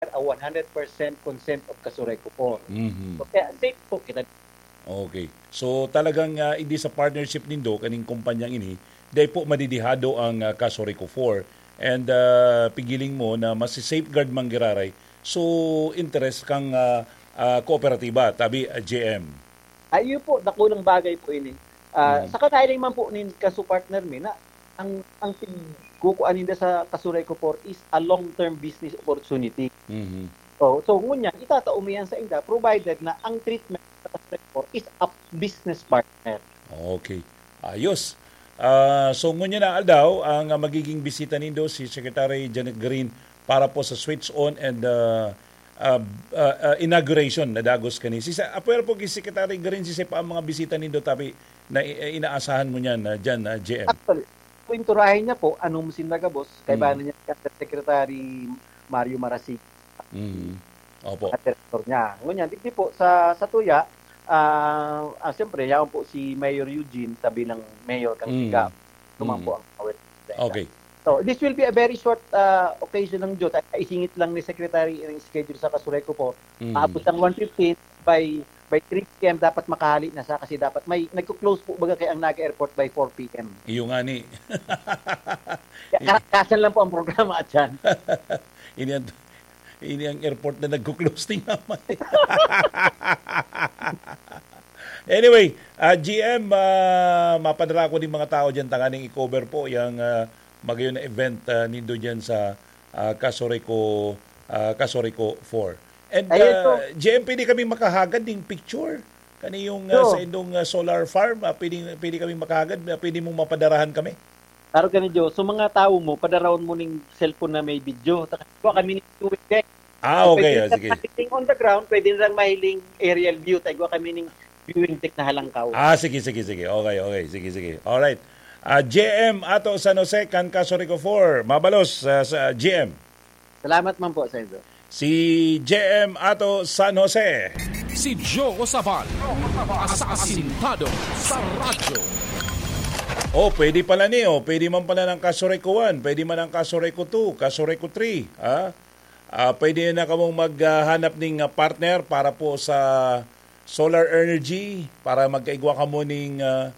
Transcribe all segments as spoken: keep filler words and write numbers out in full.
a one hundred percent consent of Kasureco four. Mhm. So, kaya safe po kita. Okay. So talagang, ah, hindi sa partnership nindo kaning kumpanyang ini, dai po madidihado ang, ah, Kasureco four. And, ah, pigiling mo na masi-safeguard man giraray so interest kang, ah, ah, kooperatiba, tabi, ah, J M. Ay, iyo po, dakulang bagay po ini. Ah, Mm. Sa kanailing man po nin kaso partner mi na ang ang pigkukuan ninda sa Kasureco four is a long-term business opportunity. Mhm. So, so ngunyan, itatao mo yan sa inda provided na ang treatment sa Kasureco four is a business partner. Okay. Ayos. Ah, so ngunyan na aldaw, ang, ah, magiging bisita nindo si Secretary Janet Garin para po sa switch on and, ah, ah, ah, ah, inauguration na dagos kani. Si sa apwera po ki Secretary Garin, si pa ang mga bisita nindo, tabi na i- inaasahan mo niyan na diyan na J M. Actually, kwenturahin niya po anong sinda gabos, kay Mm. ba niya si Secretary Mario Marasigan, Mm. Opo. Ang director niya. Ngunyan, digdi po sa sa tuya, ah, ah, siyempre, yaon po si Mayor Eugene, tabi ng Mayor kang Mm. Siga. Ito man Mm. po ang awit. Okay. So, this will be a very short ah, occasion lang, Jot. Isingit lang ni Secretary ang schedule sa Kasureco po. Mm. Aabot ng one fifteen, by by three p m dapat makahali na sa kasi dapat may nagko-close po baga kay ang Naga Airport by four p m. Iyo nga ni. Kaya ka- kasan lang po ang programa at yan. Ini ang, ini ang airport na nagko-close din naman. Anyway, ah, G M, ah, mapadala ko din mga tao dyan tanganing i-cover po yung ah, magayon na event ah, nindo dyan sa ah, Kasureco, ah, Kasureco four. And Ayun po. ah, G M, pwede kami makahagad ng picture? Kani yung ah, Sure. Sa indong ah, solar farm, ah, pwede, pwede kami makahagad, ah, pwede mong mapadarahan kami? Klaro ka ni Joe. So mga tao mo, padarawon mo ning cellphone na may video. Taka, kuha kami ni viewing deck. Ah, okay. Pwede Ah, na sige. Mahiling on the ground, pwede na lang mahiling aerial view. Tayo kami ning viewing deck na halangkaw. Ah, sige, sige, sige. Okay, okay. Sige, sige. Alright. Ah, J M ato San Jose, kan Kasureco four. Mabalos ah, sa G M. Salamat man po, Senator. Si J M ato San Jose. Si Joe Sabal, asasintado sa radyo. Oh, pwede pala ni, oh. Pwede man pala ng Kasureco one, pwede man ng Kasureco two, Kasureco three, ha? Ah, pwede na kamong maghanap ning ah, partner para po sa solar energy, para magkaigwa kamo ning ah,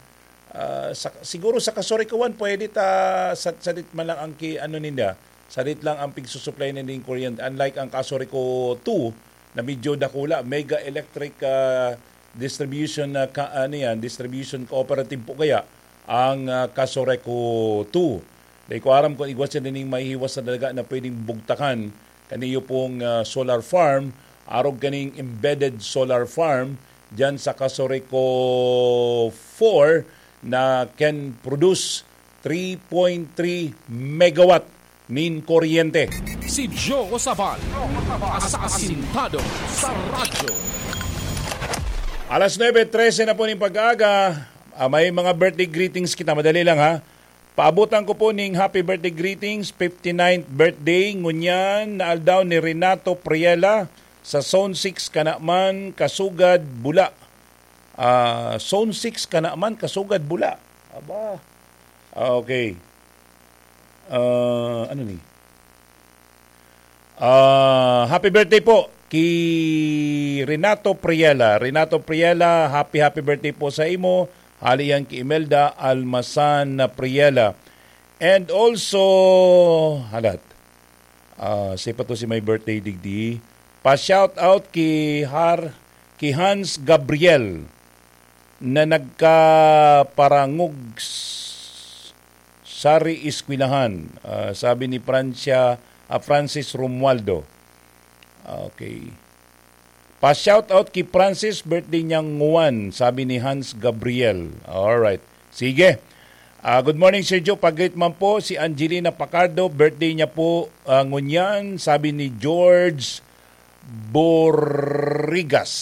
ah, sa, siguro sa Kasureco one, pwede ta sa, sadit man lang ang ki, ano ninda, sadit lang ang pigsusuplay na ning kuryente. Unlike ang Kasureco two, na medyo dakula, mega electric ah, distribution na ka, ano yan, distribution cooperative po kaya ang ah, Kasureco two. Dahil ko aram kung igwa siya ning mahihiwas na daga na pwedeng bugtakan kaniyo pong ah, solar farm, arog kaning embedded solar farm dyan sa Kasureco four na can produce three point three megawatt nin kuryente. Si Joe Sabal, asasintado sa radyo. Alas nuebe trese na po ning pag-aaga, ah, may mga birthday greetings kita. Madali lang, ha. Paabutan ko po ning happy birthday greetings, fifty-ninth birthday, ngunyan na aldaw ni Renato Priela sa Zone six, Kanaman, Kasugad, Bula. Ah, Zone six, Kanaman, Kasugad, Bula. Aba. Ah, okay. Ah, ano ni? Ah, happy birthday po ki Renato Priela. Renato Priela, happy, happy birthday po sa imo. Hali yan ki Imelda Almasan Priela. And also, halat. Ah, siya pa to si may birthday digdi. Pa-shout out ki Har, ki Hans Gabriel na nagkaparangog s- sari eskwelahan, ah, sabi ni Francia, ah, Francis Romualdo. Okay. Pa-shout out ki Francis, birthday niya nguwan, sabi ni Hans Gabriel. Alright. Sige. Ah, good morning, Sir Joe. Pag-greet man po si Angelina Pacardo, birthday niya po ah, ngunyan, sabi ni George Borrigas.